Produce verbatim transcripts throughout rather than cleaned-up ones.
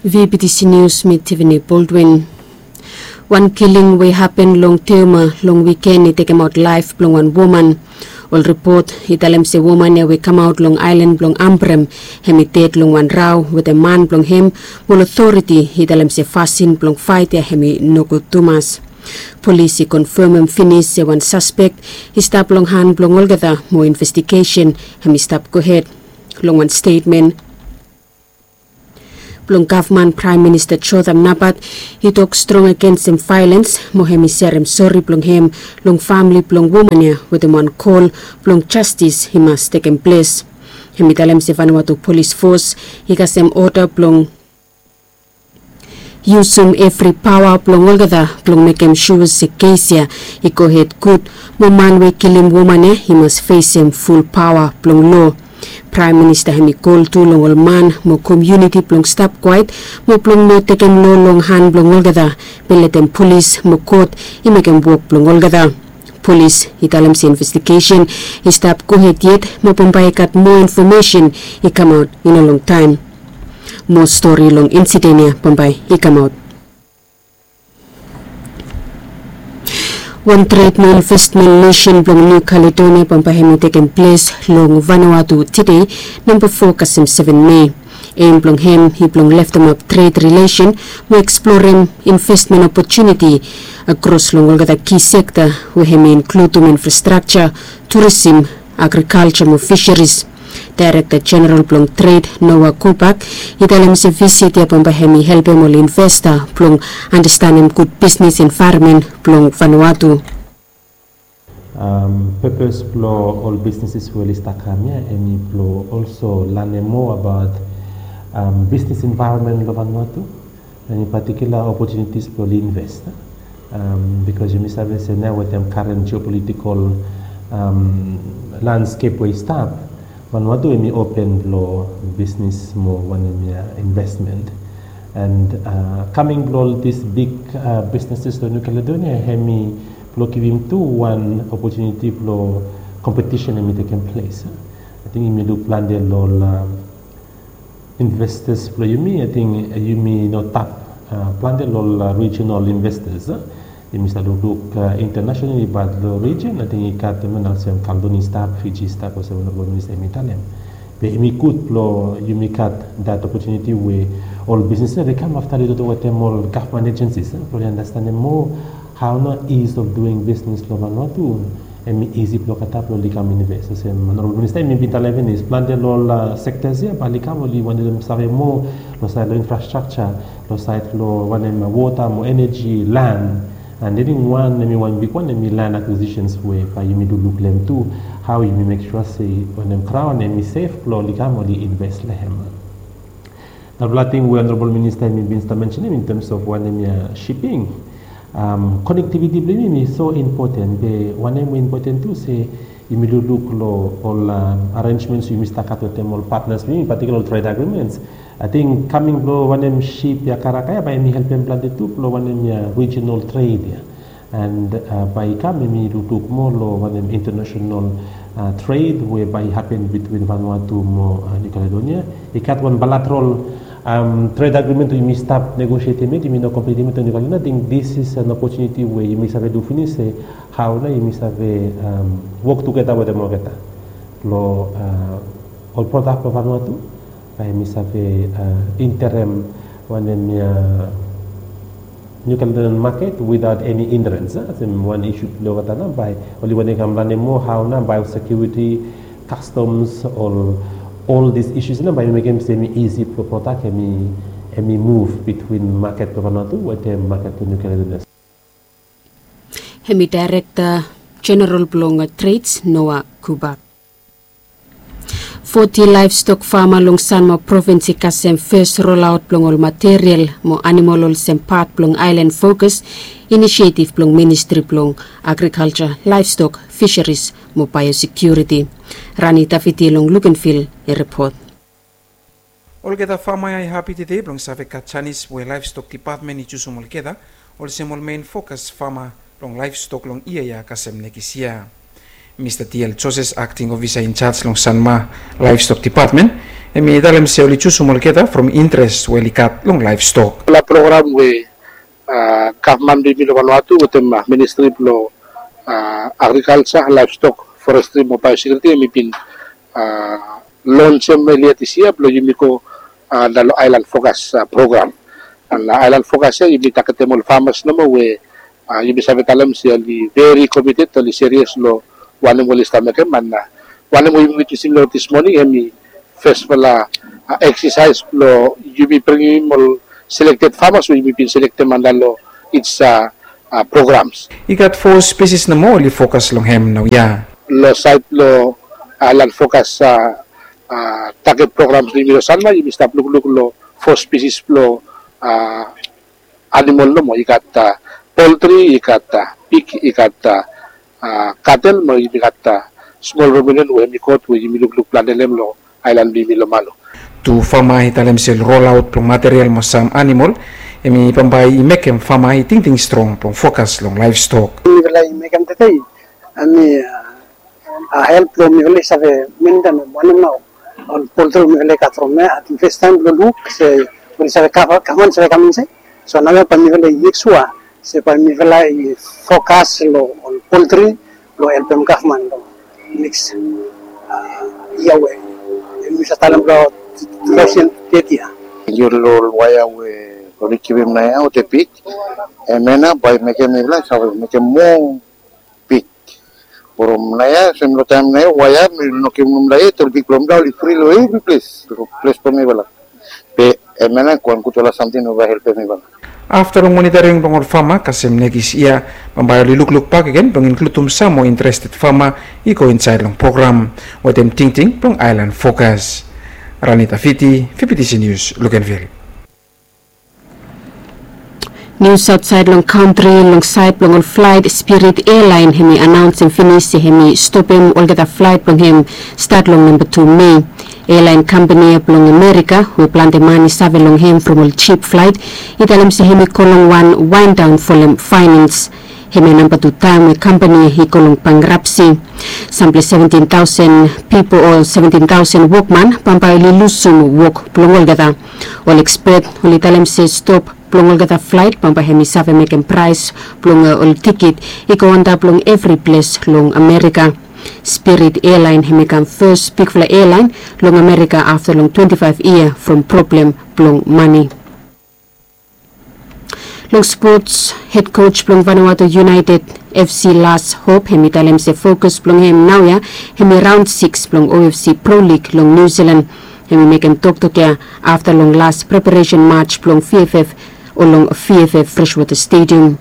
V B T C News, mi Tiffany Baldwin. Wan kiling we hapen long Teuma long wiken i tekemaot laef blong wan woman. Ol ripot i talem se woman ya we kamaot long aelan blong Ambrym, hem i ded long wan rao wetem man blong hem, mo ol otoriti i talem se fasin blong faet ya hem i nogud tumas. Polis i konfemem finis se wan saspek i stap long han blong olgeta, mo investigesen hem i stap gohed. Long wan stetmen blong gavman, Praem Minista Jotham Napat i tok strong agensem vaelens, mo hem i serem sori blong hem long famle blong woman ya wetem wan kol blong jastis i mas tekem ples. Hem i talem se Vanuatu Polis Fos i kasem oda blong yusum evri paoa blong olgeta blong mekem sua se kes ya i gohed gud, mo man we kilim woman ya i mas fesem ful paoa blong loa. Praem Minista hem i kol tu long ol man mo komuniti blong stap kwaet, mo blong no tekem loa long han blong olgeta, be letem polis mo kot i mekem wok blong olgeta. Polis i talem se investigesen i stap gohed yet, mo bambae i gat moa infomesen i kamaot i no longtaem. Moa stori long insiden ya bambae i kamaot. Wan tred mo investmen misen blong Niu Kaledonia bambae hem i tekem ples long Vanuatu tede, namba fo kasem seven Mei. Em blong hem i blong leftemap tred rilesen mo eksplorem investmen opotuniti akros long olgeta ki sekta we hem i inkludum infrastrakja, turisim, agrikalja mo fiseris. Daerekta Jeneral blong Tred, Noah Kubak, i talem se visit ya bambae hem i helpem ol investa blong andastanem gud bisnes envaeronmen blong Vanuatu. Pepes blong ol bisneses we oli stap kam ya hem i blong olso lanem moa abaot bisnes envaeronmen long Vanuatu. Eni patikula opotunitis blong oli invest. Bikos yumi save se nao wetem karen jeopolitikol landskep we i stap, Vanuatu hem i open blong bisnes mo wanem ya investment. And kaming blong ol dis big bisneses long New Caledonia hem i blong givim tu wan opotuniti blong kompetisen hem i tekem ples. Ating yumi luk plante long ol investas blong yumi, ating yumi no tap plante long ol rijinal investas. Yumi save lukluk intanasenali, bat long rijin ating i gat, i mean, olsem Kaledonia i stap, Fiji i stap, olsem Honorabol Minista hem i talem. Be hem i gud blong yumi gat dat opotuniti we ol bisnes ya oli kam afta oli toktok wetem ol gavman ejensis blong oli andastanem moa hao nao ease of doing business long Vanuatu hem i isi blong olgeta blong oli kam invest. Olsem Honorabol Minista hem i bin talem finis, plante long ol sektas ya bae oli kam oli wantem save moa long saed long infrastrakja, long saed long wanem, wota mo eneji, lan. And eniwan hem i wan bigwan hem i lan akwisisens we bae yumi lukluk long hem tu, hao yumi mek sua se wanem, kraon hem i sef blong oli kam oli invest long hem. Narafala ting we Honorabol Minista hem i bin stap mensenem in terms of wanem ya, shiping. Konektiviti blong yumi hem i so impoten, be wanem we impoten tu se yumi lukluk long ol arenjments we yumi stap gat wetem ol patnas blong yumi, patikula ol tred agriments. Ating kaming blong wanem, ship ya, karaka ya bae hem i helpem plante tu blong wanem ya, rijinal tred ya. And bae i kam hem i lukluk moa long wanem, intanasenal tred we bae i hapen bitwin Vanuatu mo New Caledonia. I gat wan baelateral tred agrimen we yumi stap negosietem yet, yumi no komplitim yet long New Caledonia. Ating dis is an opotuniti we yumi save luk finis se hao nao yumi save wok tugeta wetem olgeta long ol prodak blong Vanuatu, bae yumi save enterem wanem ya, New Caledonian maket without eni hindrans. Olsem wan isu blong olgeta nao bae oli wantem kam lanem moa hao nao biosekiuriti, kastoms, ol, ol dis isus nao bae yumi mekem se hem i isi blong prodak hem i muv bitwin maket blong Vanuatu wetem maket blong New Caledonia. Hem i Daerekta Jeneral blong Treds, Noah Kubak. Foti laevstok fama long Sanma provins i kasem fes rolaot blong ol material mo anamol olsem pat blong Aelan Fokas inisietiv blong Ministri blong Agrikalja, Laevstok, Fiseris mo Baeosekiuriti. Rani Tafiti long Lukenvil i ripot. Olgeta fama ya i hapi tede blong save gat janis we Laevstok Dipatmen i jusum olgeta olsem ol mein fokas fama blong laevstok long yia ya kasem nekis yia. Mista D L Joses, akting ofisa injaj long Sanma Laevstok Dipatmen, Hemi talem se oli jusum olgeta from interes we oli gat long laevstok. Ol program we gavman blong yumi long Vanuatu wetem ministri blong agrikalja, laevstok, forestri mo baeosekiuriti, hemi bin lonsem elia dis yia blong yumi go antap long Aelan Fokas program. An Aelan Fokas ya yumi tagetem ol famas nomo we yumi save talem se oli veri komited, oli serias long wanem oli stap mekem. An wanem we yumi witnesem long dis moning hemi fesfala eksasaes blong yumi bringim ol selekted famas we yumi bin selektem antap long ij programs. I gat fo spesis nomo oli fokas long hem naoia. Long saed blong Aelan Fokas taget programs blong yumi long Sanma, yumi stap lukluk long fo spesis blong animol nomo. I gat poltri, i gat pig, i gat katel, mo yumi gat smol ruminian we hemi got we yumi lukluk plante long hem long aelan blong yumi long Malu. Tu fama i talem se rolaot blong material mo sam animol hemi bambae i mekem fama i tingting strong blong fokas long laevstok. Mifala i mekem tede hemi help blong mifala i save mentenem wanem nao ol poltri we mifala i gat from ya. Ating fes taem blong luk se oli save kava, kava, oli save kam insaed. So naoia bae mifala i mek sua se bae mifala i fokas long ol poltri blong helpem gavman long neks yia we yumi save talem long tu taosen teti ya. Yu long ol waea we oli givim naoia olgeta pik, hemia nao bae i mekem mifala i save mekem moa pik. From naoia, sem long taem naoia, waea mi no givim mifala yet, ol pik blong mifala oli fri long evri ples, long ples blong mifala. Be hemia nao i wan gudfala samting we bae helpem mifala. Afta long monitoring blong ol fama kasem nekis yia, bambae oli lukluk bakegen blong inkludim sam moa interested fama i go insaed long program wetem tingting blong Aelan Fokas. Ranita Fiti, V P T C News, Luganville. Nius aotsaed long kantri, long saed blong ol flaet, Spirit Airline hemi anaonsem finis se hemi stopem olgeta flaet blong hem stat long namba tu Mei. Airline kampani ya blong Amerika we plante man i save long hem from ol jip flaet i talem se hemi go long wan waendaon folem faenans. Hemia namba tu taem we kampani ya i go long bankrapsi. Sampela seventin taosen pipol o seventin taosen wokman bambae oli lusum wok blong olgeta. Ol ekspet oli talem se stop blong olgeta flaet bambae hemi save mekem praes blong ol tikit i go antap long evri ples long Amerika. Spirit Airline hemi kam fes bigfala airline long Amerika afta long twenti faef yia from problem blong mane. Long spots, hed koj blong Vanuatu United F C Lars Hope hemi talem se fokus blong hem naoia hemi raon sikis blong O F C Pro League long Niu Silan. Hemi mekem toktok ya afta long las preparesen maj blong V F F o long V F F Freshwater Stadium.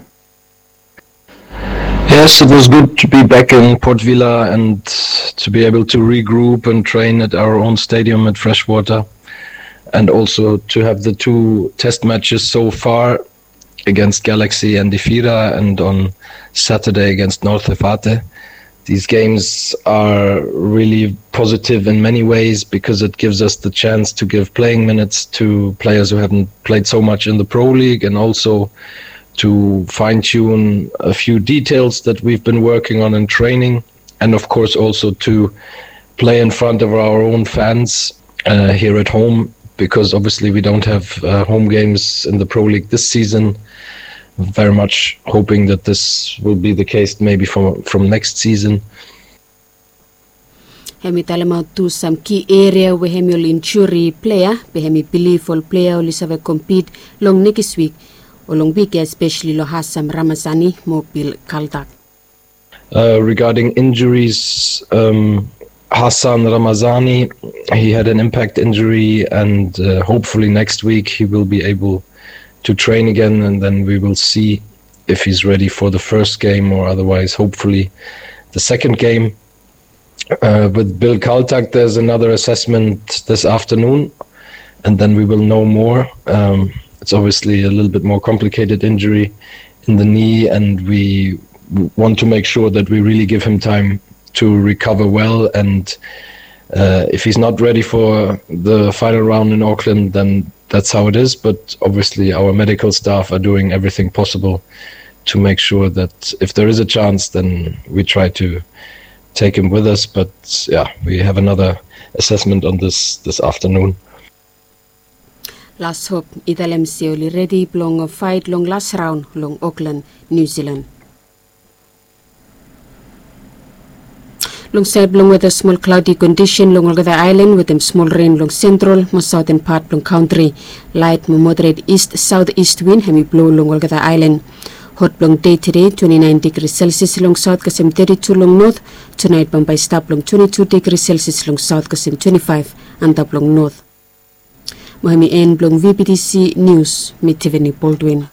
Yes, it was good to be back in Port Vila and to be able to regroup and train at our own stadium at Freshwater, and also to have the two test matches so far against Galaxy and Ifira, and on Saturday against North Efate. These games are really positive in many ways because it gives us the chance to give playing minutes to players who haven't played so much in the Pro League, and also to fine tune a few details that we've been working on in training, and of course also to play in front of our own fans uh, here at home, because obviously we don't have uh, home games in the Pro League this season. Very much hoping that this will be the case maybe for, from next season. Hemi talemaot tu sam ki eria we hemi ol injuri plea, be hemi bilif ol plea oli save kompit long nekis wik o long wik ya, espeseli long Hassan Ramazani mo Bill Kaltak. Uh, regarding injuries, um, Hassan Ramazani, he had an impact injury, and uh, hopefully next week he will be able to train again, and then we will see if he's ready for the first game, or otherwise, hopefully, the second game. Uh, with Bill Kaltak, there's another assessment this afternoon, and then we will know more. Um, it's obviously a little bit more complicated injury in the knee, and we w- want to make sure that we really give him time to recover well. And uh, if he's not ready for the final round in Auckland, then that's how it is. But obviously, our medical staff are doing everything possible to make sure that if there is a chance, then we try to take him with us. But yeah, we have another assessment on this this afternoon. Las hop i talem se oli redi blong fait long las raon long Oklan, Niu Silan. Long saed blong weda, smol klaodi kondisen long olgeta aelan wetem smol ren long sentral mo saoten pat blong kantri. Laet mo moderet ist saoteist win hem i blo long olgeta aelan. Hot blong dei tede twenti naen digri selsias long saot kasem teti tu long not. Tunaet bambae i stap long twenti tu digri selsias long saot kasem twenti faef antap long not. Mo hem i en blong vptc nius. Mi Tiveni Boldwin.